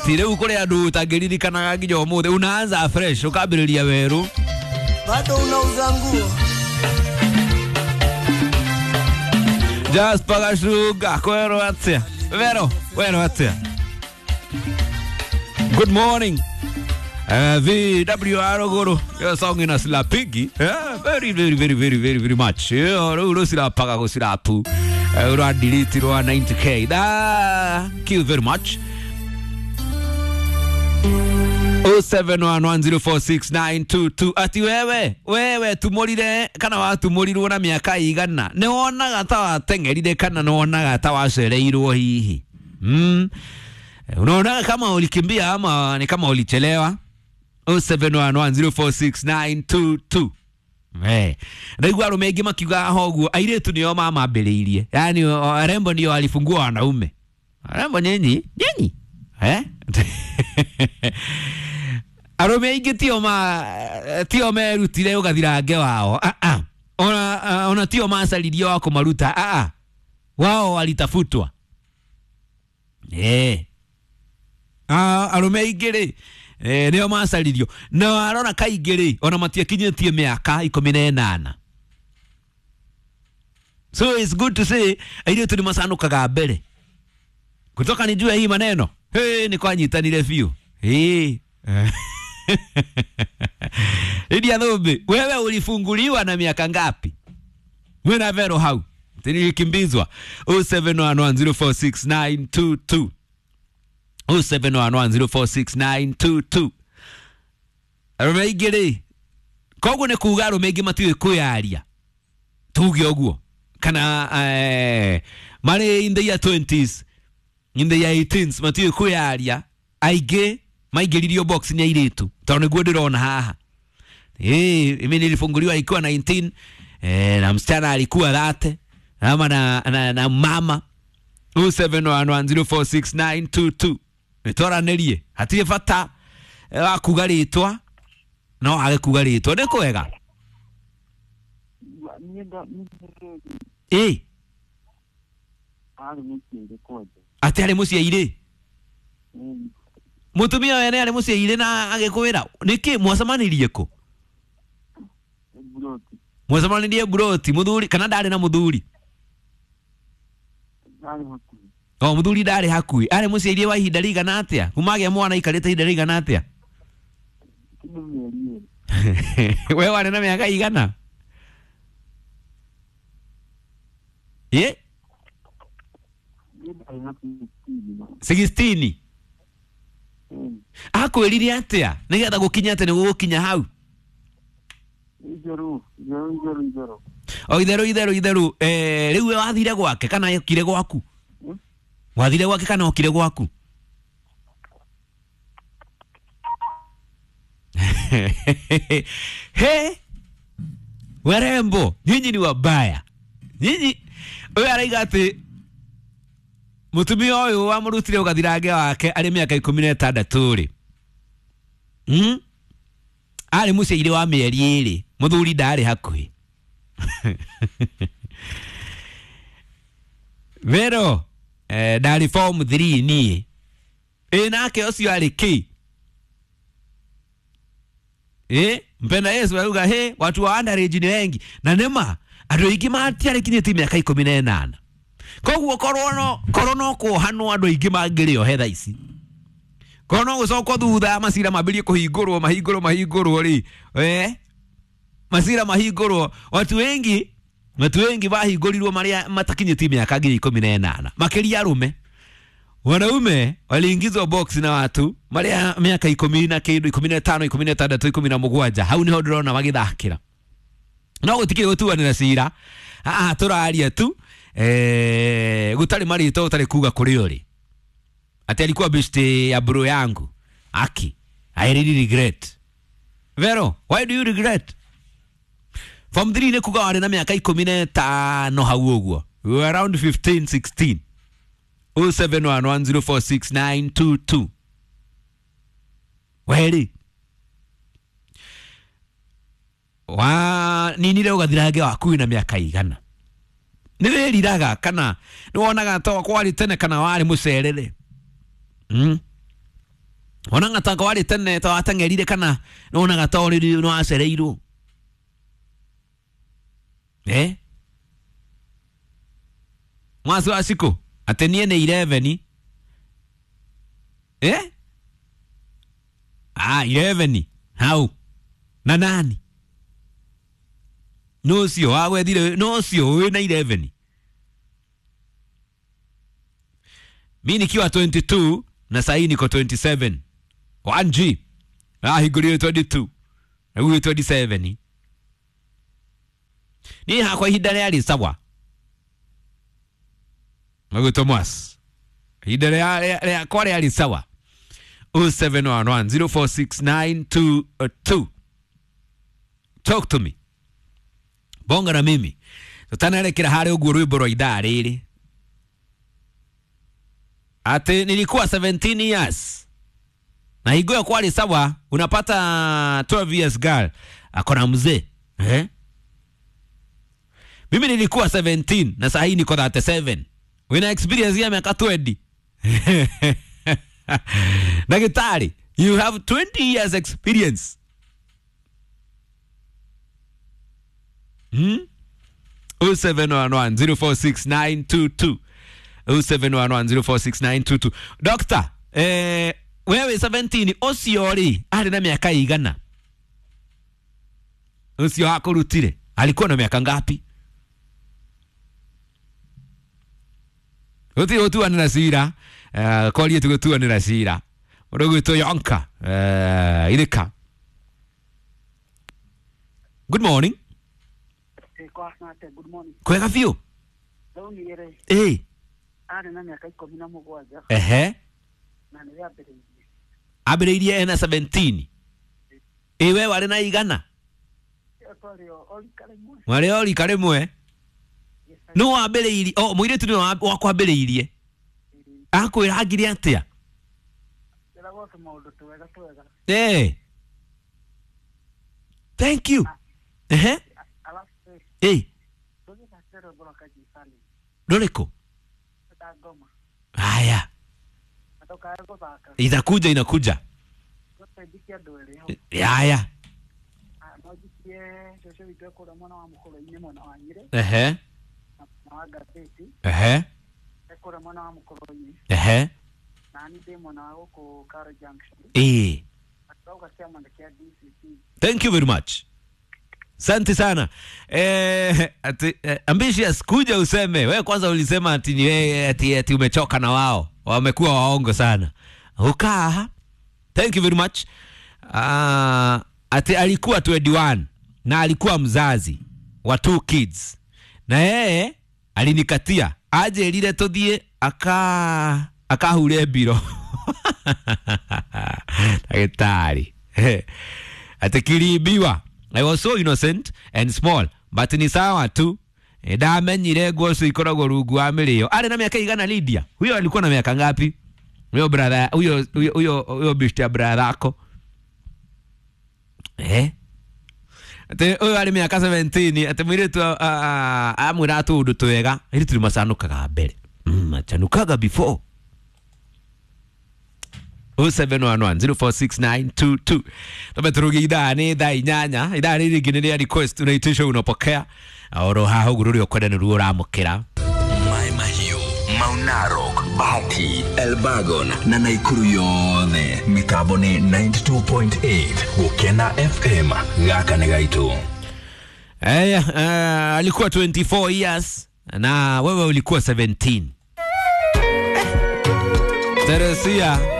Ati rĩu kũrĩ andũ ũtangĩririkanaga nginya ũmũthĩ, unaanza fresh ũkambĩrĩria werũ. Bado unauza nguo. Jasper Gashuga kwero atia Vero wero atia. Good morning. VWR Guru, your song in a slapigi. Yeah, very, very, very, very, very, very much. Yeah, ru silapaga go silapu. Ura delete ru 90k. Thank you very much. 0711046922. Ati wewe, wewe tumorire kana watumorirwo na miaka igana. Ni wonaga ta watengerire kana ni wonaga ta wacereirwo hihi. Unaona kama ulikimbia ama ni kama ulichelewa? 0711046922. Eh, ndaigua arume aingĩ makiuga ho ũguo airĩtu nĩo mamambĩrĩirie, yaani arembo ndio walifungua wanaume. Arembo nyinyi nyinyi eh arume aingĩ tio ma tio merutire ũgathirange wao, a a ona ona tio macaririe wa kũmaruta, a a wao walitafutwa. Eh, arume aingĩ rĩ nĩo macaririo na arona kaingĩ rĩ ona matiakinyĩtie mĩaka 18. So it's good to say airĩtu nĩ macanũkaga mbere. Kutoka nijue hii maneno, hey, nĩ kwanyitanire biũ. Hey. Lydia Thumbi, wewe ulifunguliwa na miaka ngapi? Mwena Vero hau nilikimbizwa. 0711046922. 0711046922. Arume aingĩ rĩ, koguo nĩ kuga arume aingĩ matiũĩ kwĩyaria, tuge ũguo, kana marĩ in the year 20s, in the year 18s matiũĩ kwĩyaria. Aingĩ maingĩririo box nĩ airĩtu, tondũ nĩguo ndĩrona haha. Mimi nilifunguliwa ikiwa 19, na msichana alikuwa 30 ama na mama. 0711046922. Nĩtwaranĩrie, hatirĩ bata wa kuga rĩtwa, no age kuga rĩtwa nĩ kwega. Ĩ atĩ arĩ mũciĩ-irĩ, mũtumia wene arĩ mũciĩ-irĩ na agĩkwĩra nĩkĩ mwacemanirie kũ? Mwacemanirie mburoti, mũthuri kana ndarĩ na mũthuri? O mũthuri ndarĩ hakuhĩ. Arĩ mũciĩ-irĩ wa ihinda rĩigana atĩa? Kuma agĩa mwana aikarĩte ihinda rĩigana atĩa? We warĩ na mĩaka igana? Ĩ? 16. Akwĩrire atĩa nĩgetha gũkinya atĩ nĩgũgũkinya hau? Itheru, itheru, itheru, itheru. O itheru, itheru, itheru. Rĩu we wathire gwake kana okire gwaku? Wathire gwake kana okire gwaku? He, warembo nyinyi ni wabaya nyinyi. Ũyũ araiga atĩ mũtumia ũyũ wamũrutire ũgathirange wake arĩ mĩaka 16 rĩ, arĩ mũciĩ-inĩ wa mĩeri 2, mũthuri ndarĩ hakuhĩ. Vero, ndarĩ form 3 niĩ. Ĩ nake ũcio arĩ kĩ? Mpenda Yesu auga he watu wa underage ni wengi. Na nĩma andũ aingĩ matiarĩkinyĩtie mĩaka 18. Koguo korwo no kuohanwo andũ aingĩ mangĩrĩohe thaa ici. Korwo no gũcokwo thutha macira mambĩrĩrie kũhingũrwo mahingũrwo mahingũrwo rĩ, macira mahingũrwo, watu wengi mahingũrirwo marĩa matakinyĩtie mĩaka nginya 18, makĩria arũme. Wanaume waliingizwa box na watu marĩa mĩaka 10 na kĩndũ, 15, 16, 17, hau nĩho ndĩrona magĩthakĩra. No gũtikĩrĩ gũtuanĩra cira, haha tũraria tu, gũtarĩ marĩtwa ũtarĩ kuga kũrĩ ũrĩ. Ati alikuwa beshte ya bro yangu. Aki, I really regret. Vero, why do you regret? Form 3 nĩ kuga warĩ na mĩaka 15 hau ũguo. We were around 15, 16. 0711046922. Weri wa ninire ũgathirange waku na mĩaka igana. Nĩ wĩriraga kana nĩ wonaga ta kwarĩ tene kana warĩ mũcerere? Wonaga ta warĩ tene ta wateng'erire kana wonaga ta ũrĩ nĩ wacereirwo? Eh? Mwasi wa Shiko atĩ niĩ nĩ 11. Eh? Ah, 11 hau na nani no ũcio wagwethire, no ũcio wĩna 11. Mi nikiwa 22 na sahii niko 27. 1G ahingũrire 22 na rĩu 27. Niĩ hakwa ihinda rĩarĩ sawa. Magu Thomas, ihinda rĩakwa rĩarĩ sawa. 0711046922. Talk to me, bonga na mimi tutanerekera harĩ ũguo rwĩmbo rwa ithaa rĩrĩ. Ati nilikuwa 17 years na higo ya kwali sawa, unapata 12 years girl akona mzee, eh? Mimi nilikuwa 17 na saa hii niko 37. Wina experience ya miaka 20. Daktari, you have 20 years experience. Hmm? 0711046922. 0711046922. Doctor, wewe 17 ũcio rĩ arĩ na mĩaka igana? Ũcio akũrutire alikuwa na miaka ngapi? Uti ũtuanĩra cira, korie tũgũtuanĩra cira. Mũndũ Yonka, Irika. Good morning. Good morning. Kwega biũ. Ĩ. Arĩ na mĩaka 17. Ehe. Na nĩ ambĩrĩirie. Ambĩrĩirie ena 17. Ĩ we warĩ na igana? Warĩ o rika rĩmwe. No wambĩrĩirie, o mũirĩtu nĩwe wakwambĩrĩirie. Akwĩra angire atĩa? Eh. Thank you. Ehe. Eh. Rũrĩkũ? Haya. Inakuja, inakuja. Haya. Ehe. Ehe. Ehe. Eh. Thank you very much. Asante sana. Ati, ambitious kuja useme. Wewe kwanza ulisema ati ni wewe ati umechoka na wao. Wamekuwa waongo sana. Ukaa. Thank you very much. Ati alikuwa 21 na alikuwa mzazi wa 2 kids. Na yeye alinikatia aje lile tuthie akahure mbiro. Daktari. Ati kiliibiwa. I was so innocent and small, but ni sawa tu. Ndamenyire nguo icio ikoragwo rungu wa mĩrĩo. Arĩ na miaka igana Lydia? Huyo alikuwa na miaka ngapi? Huyo brother, huyo huyo huyo bishti ya brother yako. Eh? Ati huyo arĩ mĩaka 17, ati mũirĩtu amwĩra tũũndũ twega, airĩtu nĩ macanũkaga mbere. Machanukaga before. 0711046922. Tumeturugia idhaa ni thaa 8. Idhaa rĩrĩ rĩngĩ nĩ rĩa request, unaitisha unapokea. Oro haha ũguo rũrĩa ũkwenda nĩruo ũramũkĩra. Mai Mahiũ, Mau Narok, Bahati, Elbagon na Naikuru yothe. Mitambo nĩ 92.8 Gũkena FM. Gaka nĩ gaitũ. Alikuwa 24 years na wewe ulikuwa 17. Teresia.